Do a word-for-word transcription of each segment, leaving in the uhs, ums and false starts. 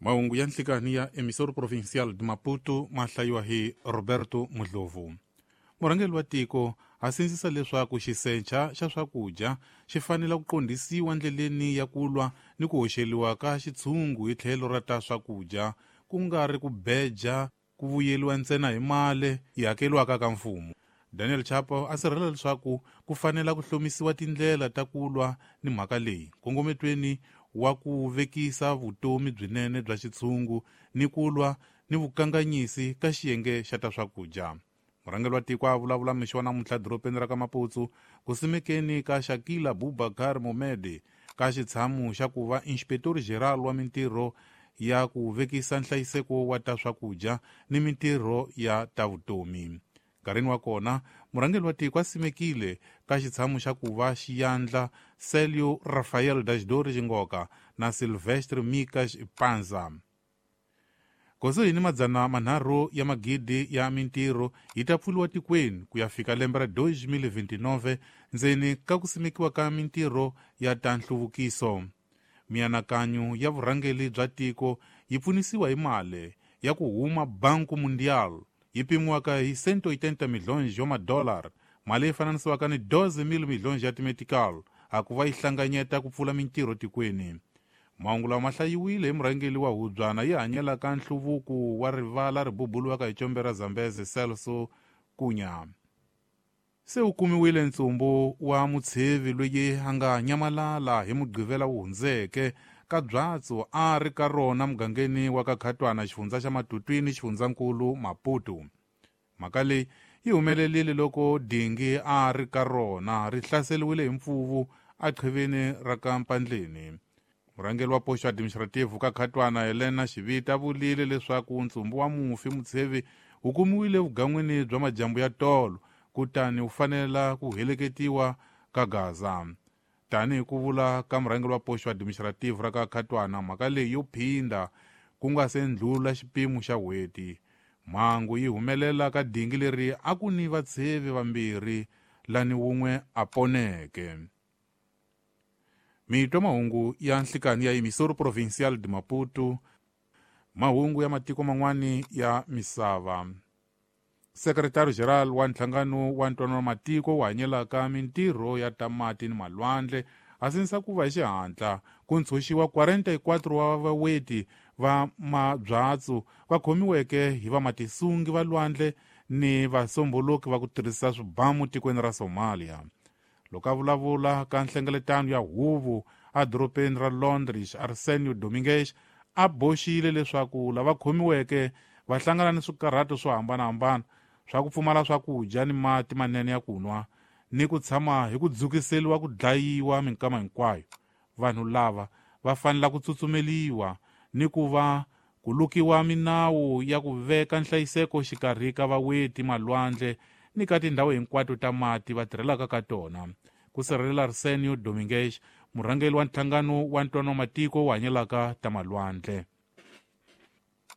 Mahungu ya nhlikani ya Emissora Provincial de Maputo ma hlayiwa hi Roberto Mudlovu. Murhangeri wa tiko a sindzisa leswaku xisencha xa swakudya xi fanele ku qondisiwa ndleleni ya ku lwa ni ku hoxeliwa ka xitshungu hi tlhelo ra ta swakudya, ku nga ri ku beja ku vuyeliwa ntsena hi mali yi hakeliwaka ka mfumo. Daniel Chapo a sirhelela leswaku ku fanela ku hlomisiwa tindlela ta ku lwa ni mhaka leyi nkongometweni wa ku vekisa vutomi byinene bya xitshungu ni ku lwa ni vukanganyisi ka xiyenge xa ta swakudya. Murhangeri wa tiko a vulavula mixo wa namuntlha dorobeni ra ka Maputo ku simekeni ka Shakila Bubakar Momede ka xitshamu xa ku va Inspector General wa mintirho ya ku vekisa nhlayiseko wa ta swakudya ni mintirho ya ta vutomi. Nkarhini wa kona, murhangeri wa tiko a simekile ka xitshamu xa ku va xiyandla Celio Rafael Dashdori Xingoka na Silvestre Mikas Panza. Kusuhi ni madzana manharhu ya magidi ya mintirho yi ta pfuriwa tikweni ku ya fika lembe ra twenty twenty-nine ndzeni ka ku simekiwa ka mintirho ya ta nhluvukiso. Mianakanyo ya vurhangeri bya tiko yi pfunisiwa hi mali ya ku huma Banco Mundial yi pimiwaka hi cento oitenta milhões ya madollar, mali yi fananisiwaka ni doze mil milhões ya timetical, a ku va yi hlanganyeta ku pfula mintirho tikweni. Mahungu lawa ma hlayiwile hi murhangeri wa hubyana yi hanyelaka nhluvuko wa rivala ri bubuliwaka hi combe ra Zambezi Celso Cunha. Se wu kumiwile ntsumbu wa mutshevi loyi a nga nyamalala hi Mugqivela wu hundzeke ka byatso a ri ka rona mugangeni wa ka Khatwana, xifundza xa Matutwini, xifundzankulu Maputo. Mhaka leyi yi humelerile loko dingi a ri ka rona ri hlaseriwile hi mpfuvu aqhiveni ra ka Mpandleni. Murhangeri wa posto administrative ka Khatwana Helena Xivita vulile leswaku ntsumbu wa mufi mutshevi wu kumiwile vugan'wini bya majambu ya tolo kutani wu fanela ku heleketiwa ka Gaza. Tanihi ku vula ka murhangeri wa posto administrative ra ka Khatwana, mhaka leyi yo phinda ku nga se ndlula xipimo xa n'hweti. Mhangu yi humelela ka dingi leri a ku ni vatshevi vambirhi lani wun'we a poneke. Mitwa mahungu ya nhlikani ya Emissora Provincial de Maputo, mahungu ya matiko man'wani ya misava. Secretary General wa nhlangano wa ntwanano wa matiko wu hanyelaka mintirho ya ta mati ni malwandle a sindzisa ku va hi xihatla ku ntshunxiwa quarenta e quatro wa vaweti va mabyatso va khomiweke hi vamatisungi va lwandle ni vasomboloki va ku tirhisa swibamu tikweni ra Somalia. Loko a vulavula ka nhlengeletano ya huvo edorobeni ra Londres, Arsenio Dominguez a boxile leswaku lava khomiweke va hlangana ni swikarhato swo hambanahambana swa ku pfumala swakudya ni mati manene ya ku nwa ni ku tshama hi ku dzukiseliwa ku dlayiwa minkama hinkwayo. Vanhu lava va fanela ku tsutsumeliwa ni ku va ku lukiwa minawu ya ku veka nhlayiseko xikarhi ka vaweti malwandle ni ka tindhawu hinkwato ta mati va tirhelaka ka tona. Ku sirhelela Arsenio Dominguez, murhangeri wa nhlangano wa ntwanano wa matiko wu hanyelaka ta malwandle.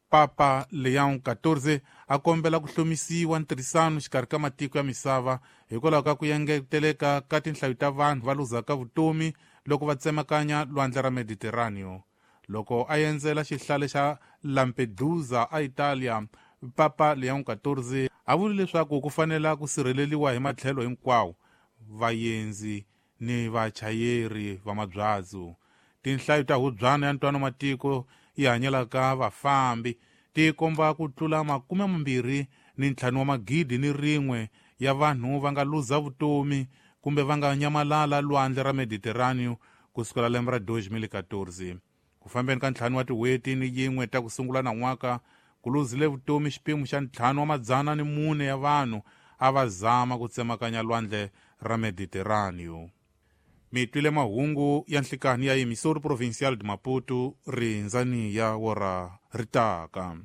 Papa Leon quatorze a kombela ku hlomisiwa ntirhisano xikarhi ka matiko ya misava hikwalaho ka ku engeteleka ka tinhlayo ta vanhu va luzaka vutomi loko va tsemakanya lwandle ra Mediterraneo. Loko a endzela xihlale xa Lampedusa a Italia, Papa Leon quatorze a vule leswaku ku fanela ku sirheleliwa hi matlhelo hinkwawo vaendzi ni vachayeri va mabyatso. Tinhlayo ta hubyana ya ntwanano matiko yi hanyelaka vafambi ti komba ku tlula makume mambirhi ni ntlhanu wa magidi ni rin'we ya vanhu va nga luza vutomi kumbe va nga nyamalala lwandle ra Mediterraneo ku sukela lembe ra twenty quatorze. Ku fambeni ka ntlhanu wa tin'hweti ni yin'we ta ku sungula nan'waka, ku luzile vutomi xipimo xa ntlhanu wa madzana ni mune ya vanhu a va zama ku tsemakanya lwandle ra Mediterraneo. Mi twile mahungu ya nhlikani ya Emissora Provincial de Maputo, rindzani ya wora ri taka.